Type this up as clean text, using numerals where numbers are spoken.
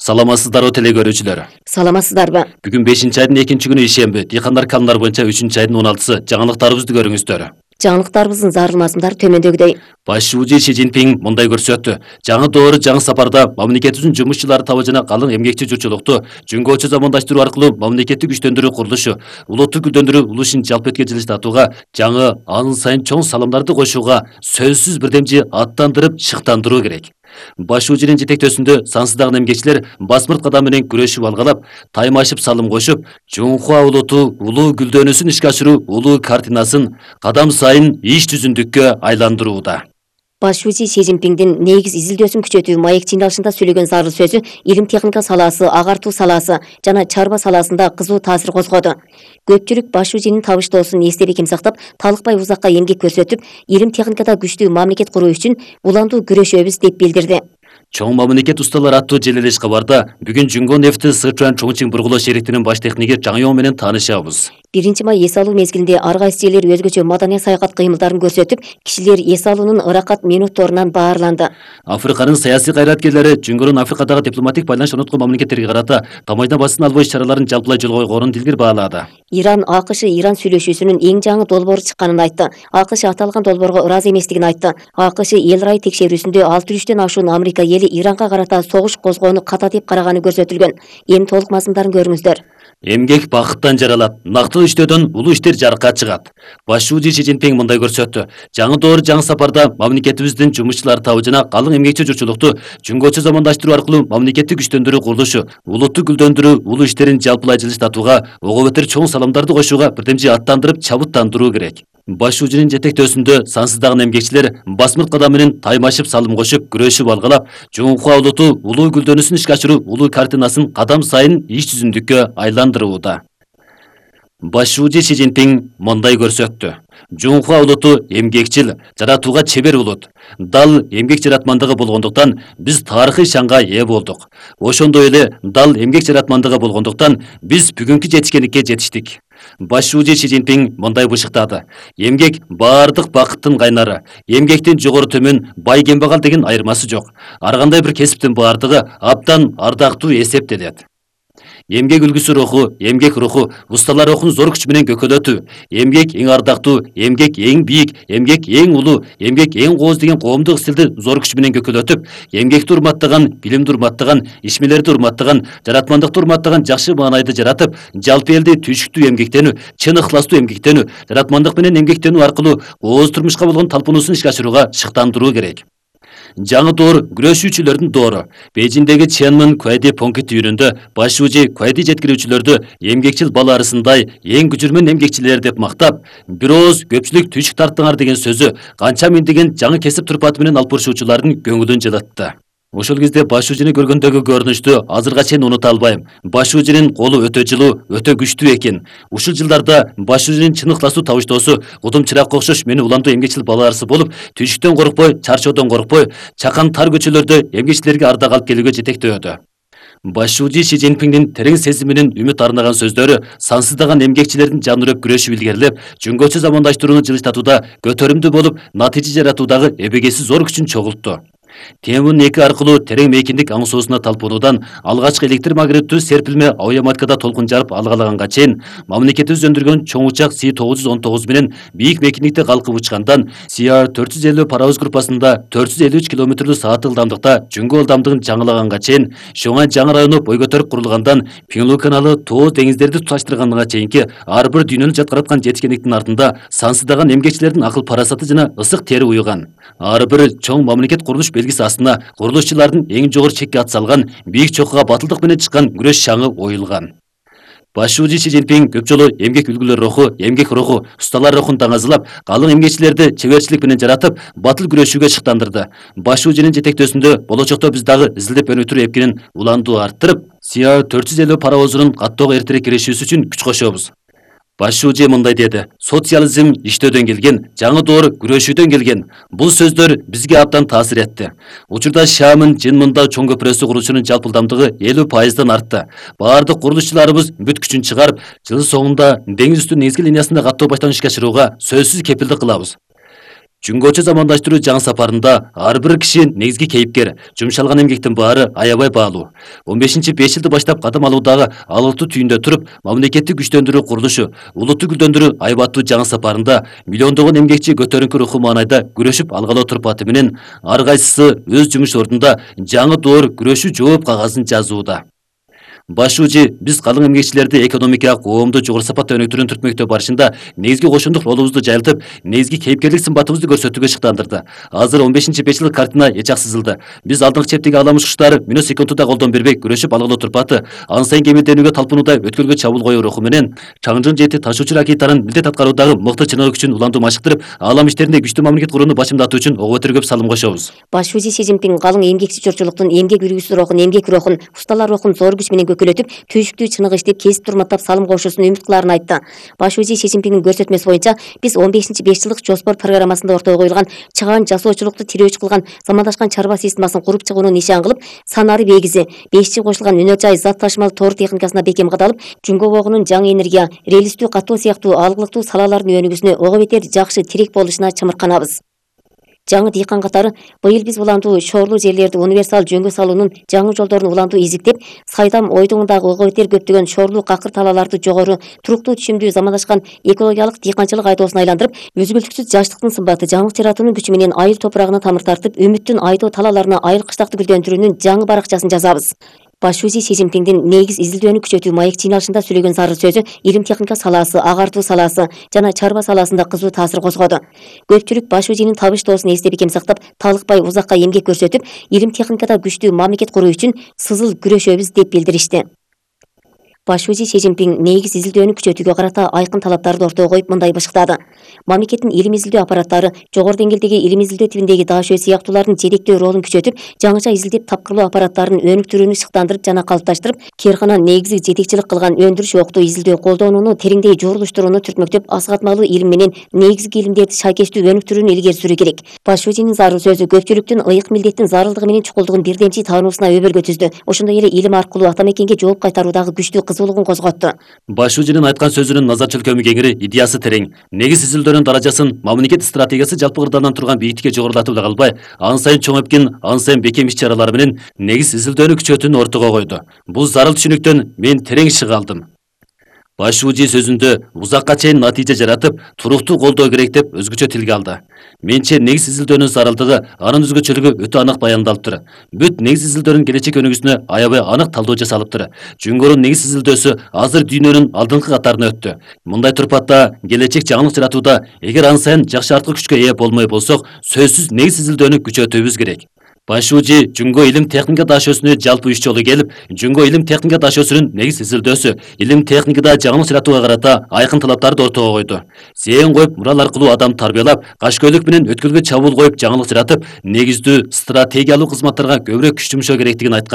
Саламатсыздарбы теле көрүүчүлөр. Саламатсыздарбы? Бүгүн 5-айдын 2-күнү ишемби. Дыйкандар канундар боюнча 3-айдын 16-сы жаңылыктарыбызды көрүңүздөр. Жаңылыктарыбыздын зарыл мазмундары төмөндөгүдөй. Баш шүүжү Си Цзиньпин мындай көрсөттү. Жаңы доору жаңы сапарда мамлекетибиздин жумушчулары табы жана калың эмгекчи журтчулукту жөнгөчө замандаштыруу аркылуу мамлекетти күчтөндүрүү курулушу, улутту гүлдөндүрүү улушун жалпы эткенчи жылыштатууга, жаңы анын сайын чоң салымдарды кошууга сөзсүз бирдемчи аттандырып шыктандыруу керек. Баш шүүжүнүн жетектөөсүндө сансыздаган эмгекчилер басмырт кадам менен күрөшүп алгалап, таймашып салым кошуп, Жунхуа улуту улуу гүлдөнүүсүн ишке ашыруу улуу картинасын кадам сайын иш түзүмдүккө айландырууда. Баш шүүжү Си Цзиньпиндин негиз изилдөөсүн күчөтүү маек чыйналышында сөйлөгөн зарыл сөзү илим техника саласы, агартуу саласы жана чарба саласында кызуу таасир козгоду. Көпчүлүк баш шүүжүнүн табыштоосун эстеликим сактап, талыкпай узакка эмгек көрсөтүп, илим техникада күчтүү мамлекет куруу үчүн улантуу күрөшөбүз деп билдирди. Чоң мамлекет усталар аттуу желелеш кабарда бүгүн Жүнгөн нефти Сычуань Чоңчиң бургулоо шериктинин баш техниги Жаң Йоң менен таанышабыз. 1 май эс алуу мезгилинде ар кайсы жерлер өзгөчө маданий саякат кыймылдарын көрсөтүп, кишилер эс алуунун ыракат минутторунан баарланды. Африканын саясий кайраткерлери Жүнгөрүн Африкадагы дипломатик байланыш орноткон мамлекеттерге карата тамайдан басын албоо иш-чараларын жалпылай жолго койгонун дилгир баалады. Иран АКШ Иран сүйлөшүүсүнүн эң жаңы долбоору чыкканын айтты. АКШ аталган долбоорго ыраазы эместигин айтты. АКШ эл ырайы текшерүүсүндө 600-төн ашуун Америка эли Иранга карата согуш козгоону ката деп караганы көрсөтүлгөн. Эми толук мазмундарын көрүңүздөр. Эмгек бакыттан жаралат, нактуу иштөөдөн улуу иштер жарыкка чыгат. Баш шүүжү Си Цзиньпин мындай көрсөттү. Жаңы доору жаңы сапарда мамлекетибиздин жумушчулары табы жана калың эмгекчи журтчулукту жөнгөчө замандаштыруу аркылуу мамлекетти күчтөндүрүү курулушу, улутту гүлдөндүрүү улуу иштерин жалпылай жылыштатууга, ого бетер чоң салымдарды кошууга бирдемчи аттандырып чабыттандыруу керек. Баш шүүжүнүн жетектөөсүндө сансыздаган эмгекчилер басмырт кадам менен таймашып салым кошуп, күрөшүп алгалап, Жунхуа улуту улуу гүлдөнүүсүн ишке ашыруу улуу картинасын кадам сайын иш түзүмдүккө айландырууда. Баш шүүжү Си Цзиньпин мындай көрсөттү. Жунхуа улуту эмгекчил, жаратууга чебер улут. Дал эмгек жаратмандыгы болгондуктан биз тарыхый шанга ээ болдук. Ошондой эле дал эмгек жаратмандыгы болгондуктан биз бүгүнкү жетишкендикке жетиштик. Баш шүүжү Си Цзиньпин мындай бышыктады. Эмгек баардык бакыттын кайнары. Эмгектин жогору төмөн, бай кембагал деген айырмасы жок. Ар кандай бир кесиптин баардыгы абдан ардактуу эсептелет. Эмгек үлгүсү руху, эмгек руху, усталар рухун зор күч менен көкөлөтүү. Эмгек эң ардактуу, эмгек эң бийик, эмгек эң улуу, эмгек эң кооз деген коомдук стилди зор күч менен көкөлөтүп, эмгекти урматтаган, билимди урматтаган, ишмерлерди урматтаган, жаратмандыкты урматтаган жакшы маанайды жаратып, жалпы элди түйшүктүү эмгектенүү, чын ыхластуу эмгектенүү, жаратмандык менен эмгектенүү аркылуу кооз турмушка болгон талпынуусун ишке ашырууга шыктандыруу керек. Жаңы доор күрөшүүчүлөрдүн доору. Бейжиңдеги Ченмин Куайди Поңкит үйүнүндө баш шүүжү Куайди жеткирүүчүлөрдү эмгекчил бала арасындай эң күчүрмөн эмгекчилер деп мактап, бир ооз көпчүлүк түйшүк тарттыңар деген сөзү канча миңдеген жаңы кесип турпаты менен алып барышуучулардын көңүлүн жылытты. Ошол кезде баш шүүжүнү көргөндөгү көрүнүштү азырга чейин унута албайм. Баш шүүжүнүн колу өтө жылуу, өтө күчтүү экен. Ушул жылдарда баш шүүжүнүн чын ыхластуу табыштоосу кудум чыракка окшош мени уламдуу эмгекчил балаарысы болуп, түйшүктөн коркпой, чарчоодон коркпой, чакан тар көчөлөрдө эмгекчилерге ардак алып келүүгө жетектөөдү. Баш шүүжү Си Цзиньпиндин терең сезиминин үмүт арнаган сөздөрү сансыздаган эмгекчилердин жаны үрөп күрөшүп илгерилеп, жөнгөчө замандаштырууну жылыштатууда көтөрүмдүү болуп, натыйжа жаратуудагы эбегейсиз зор күчүн чогултту. Темун 2 аркылуу терең мейкиндик аңсоосуна талпынуудан алгачкы электр магниттүү серпилме авиаматкада толкун жарып алгалаганга чейин мамлекетибиз өндүргөн чоң учак Си-919 менен бийик мейкиндикте калкып учкандан CR-450 паровоз группасында 453 км/саат ылдамдыкта жөнгө ылдамдыгын жаңылаганга чейин, Шоңай жаңы району бой көтөрүп курулгандан Пиңлу каналы тоо деңиздерди туташтырганга чейинки ар бир дүйнөнү жаткыраткан жетишкендиктин артында сансыздаган эмгекчилердин акыл парасаты жана ысык тери уюган. Ар бир чоң мамлекет курулуш белгиси астына курулушчулардын эң жогору чекке ат салган, бийик чокуга батылдык менен чыккан күрөш шаңы оюлган. Баш шүүжү Си Цзиньпин көп жолу эмгек үлгүлөр руху, эмгек руху, усталар рухун таңазылап, калың эмгекчилерди чеберчилик менен жаратып, батыл күрөшүүгө шыктандырды. Баш шүүжүнүн жетектөөсүндө болочокто биз дагы изилдеп өнүктүрүү эпкинин уландуу арттырып, CR-450 паровозунун каттоого эртерээк киришүүсү үчүн күч кошобуз. Баш шүүжү мындай деди. Социализм иштөөдөн келген, жаңы доор күрөшүүдөн келген. Бул сөздөр бизге абдан таасир этти. Учурда Шамын Жинмында чоң көпүрөсү курулушунун жалпы ылдамдыгы 50% артты. Баардык курулушчуларыбыз бүт күчүн чыгарып, жыл соңунда деңиз үстү негизги линиясында каттоо баштан ишке ашырууга сөзсүз кепилдик кылабыз. Жүнгөчө замандаштыруу жаңы сапарында ар бир киши негизги кейипкер, жумшалган эмгектин баары аябай баалуу. 15-5 жылды баштап кадам алуудагы алыктуу түйүндө туруп, мамлекеттик күчтөндүрүү курулушу, улутту гүлдөндүрүү айбаттуу жаңы сапарында миллиондогон эмгекчи көтөрүнкү руху маанайда күрөшүп алгалы турпаты менен ар кайсысы өз жумуш ордунда жаңы доор күрөшүү жооп кагазын жазууда. Баш УЖИ биз калың эмгекчилерди экономикага коомду жогору сапатта өнүктүрүүнү түртмөктө барышында негизги кошундук ролубузду жайылтып, негизги кейипкерлик сымбатыбызды көрсөтүүгө шыктандырды. Азыр 15-5 жылдык картина эчак сызылды. Биз алдыңкы чептеги аламыш куштары мүнөт секундуда колдон бербей күрөшүп алгылуу турпаты, ан сайын кемелденүүгө талпынууда өткөлгө чабуул коюу руху менен чаңжың жети ташуучу ракетанын милдет аткаруудагы мыкты чыныгы күчүн улантуу машыктырып, алам иштеринде күчтүү мамлекет курууну башымдатуу үчүн ого бетер көп салым кошобуз. Баш УЖИ Си Цзиньпин калың эмгекчи журтчулуктун эмгек үргүсү рухун, усталар рухун зор күч менен көкөлөтүп, түйшүктүү чыныгы иштеп, кесип турматтап салым кошуусун үмүт кылаарын айтты. Баш УЖИ Си Цзиньпиндин көрсөтмөсү боюнча биз 15-5 жылдык жоспор программасында ортого коюлган чыгаан жасоочулукту тирөөчү кылган замандашкан чарба системасын куруп чыгууну нишан кылып, санары бегизи 5G кошулган өнөр жай зат ташымал тоор техникасына бекем кадалып, жүнгө богунун жаңы энергия, релистүү катоо сыяктуу алгылыктуу салалардын өнүгүүсүнө ого бетер жакшы тирек болушуна чымырканабыз. Жаңы дыйкан катары быйыл биз уландуу шоорлуу жерлерди универсал жөнгө салуунун жаңы жолдорун уландуу издиктеп, Сайдам ойдуңундагы ого бетер көптөгөн шоорлуу какыр талааларды жогору, туруктуу түшүмдүү замандашкан экологиялык дыйканчылык айдоосуна айландырып, үзгүлтүксүз жаштыктын сымбаты жаңылык жаратуунун күчү менен айыл топурагына тамыр тартып, үмүттүн айдоо талааларына айыл кыштакты гүлдөндүрүүнүн жаңы баракчасын жазабыз. Баш УЖИ Си Цзиньпиндин негиз изилдөөнү күчөтүү маек жыйналышында сөйлөгөн зарыл сөзү илим техника салаасы, агартуу салаасы жана чарба саласында кызуу таасир козгоду. Көпчүлүк Баш УЖИнин табыштоосун эсте бекем сактап, талыкпай узакка эмгек көрсөтүп, илим техникада күчтүү мамлекет куруу үчүн сызыл күрөшөбүз деп билдиришти. Баш УЖИ Си Цзиньпин негиз изилдөөнү күчөтүүгө карата айкын талаптарды ортого коюп мындай бышыктады. Мамлекеттин илим изилдөө аппараттары жогору деңгээлдеги илим изилдөө тибиндеги даашөө сыяктуулардын жетектөө ролун күчөтүп, жаңыча изилдеп тапкырлоо аппараттарын өнүктүрүүнү шыктандырып жана калыпташтырып, Кээркана негизги жетекчилик кылган өндүрүш октуу изилдөө колдонууну тереңдей журулуштурууну түртмөктөп, асыгатмалуу илим менен негизги илимдерди шайкештүү өнүктүрүүнү илгери сүрүү керек. Баш УЖИнин зарыл сөзү көпчүлүктүн ыйык милдеттин зарылдыгы менен чукулдугун бирдемчи таануусуна өбөлгө түздү. Ошондой эле илим аркылуу ата мекенге жооп кайтаруудагы күчтүү кызуулугун козготту. Баш УЖИнин айткан сөзүнүн назар чөлкөмү кеңири, идеясы терең. Негиз изилдөөнүн даражасын мамлекет стратегиясы жалпы кырдаалдан турган бийиктикке жогорулатып эле калбай, ан сайын чоңойткин, ан сайын бекем иш-чаралар менен негиз изилдөөнү күчөтүүнү ортого койду. Бул зарыл түшүнүктөн мен терең чыга алдым. Баш УЖИ сөзүндө узакка чейин натыйжа жаратып, туруктуу колдоо керек деп өзгөчө тилге алды. Менче негиз изилдөөнүн зарылдыгы, анын өзгөчөлүгү өтө анык баяндалыптыр. Бүт негиз изилдөөнүн келечек өнүгүүсүнө аябай анык талдоо жасалыптыр. Жүнгөрүн негиз изилдөөсү азыр дүйнөнүн алдыңкы катарына өттү. Мындай турпатта келечек жаңылык жаратууда эгер ан сайын жакшы арткы күчкө ээ болмой болсок, сөзсүз негиз изилдөөнү күчөтүүбүз керек. Баш УЖИ Жүнгө илим техника даашөсүнө жалпы 3 жолу келип, Жүнгө илим техника даашөсүнүн негиз изилдөөсү, илим техникада жаңылык жаратууга карата айкын талаптарды ортого койду. Зээн коюп, мурал аркылуу адам тарбиялап, кашкөйлүк менен өткөлгө чабуул коюп жаңылык жаратып, негиздүү стратегиялык кызматтарга көбүрөөк күч жумшоо керектигин айткан.